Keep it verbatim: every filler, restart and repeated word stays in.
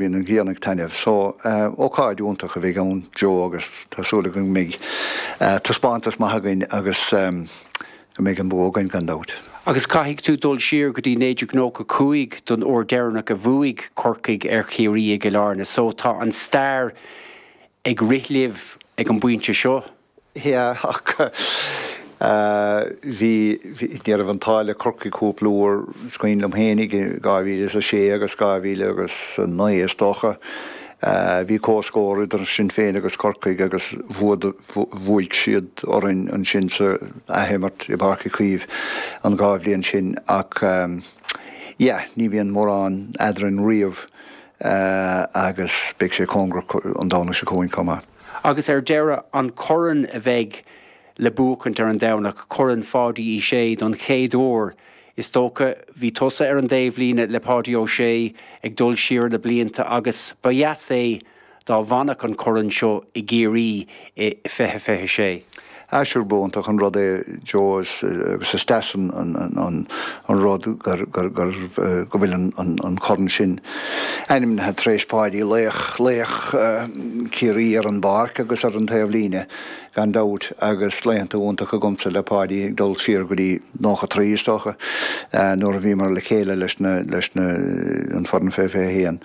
Bhí an ghrian ag taitneamh. So ócáid iontach a bheidh ann Joe agus tá súil go mbeidh taispeántas maith againn agus go mbeidh an bua againn gan dabht. Agus caithfidh tú dul siar go dtí naoi déag nócha cúig don uair deireanach a bhuaigh Corcaigh ar Chiarraí i gCill Airne, so tá an stair ag rith libh ag an bpointe seo. Yeah, ach bhí, ní raibh an t-ádh le Corcaigh cúpla uair, is cuimhin liom féinig i dhá mhíle is a sé agus dhá mhíle agus a naoi is dócha. Bhí comhscór idir sinn féin agus Corcaigh agus bhuaigh siad orainn ansin sa athimirt i bPáirc Uí Chaoimh an dhá bhliain sin ach yeah, ní bhíonn mórán eadrainn riamh agus beidh sé cóngarach an Domhnach seo chugainn chomh maith. Agus ar deireadh, an corn a bheidh le buachaint ar an Domhnach, Corn Pháidí Uí Shé don chéad uair, is dócha, bhí tusa ar an dtaobhlíne le Páidí Ó Sé ag dul siar na blianta agus ba dheas é dá bhfanfadh an corn seo i gCiarraí i fiche fiche sé. Ah sure b'iontach an rud é Joe agus is deas an an rud gur gur gur go bhfuil an an corn sin ainmnithe tar éis Páidí, laoch laoch Chiarraí ar an bpáirc agus ar an taobhlíne gan dabht agus laethanta iontacha agamsa le Páidí ag dul siar go dtí nócha trí is dócha nuair a bhíomar le chéile leis na leis na an foireann fiche fiche haon.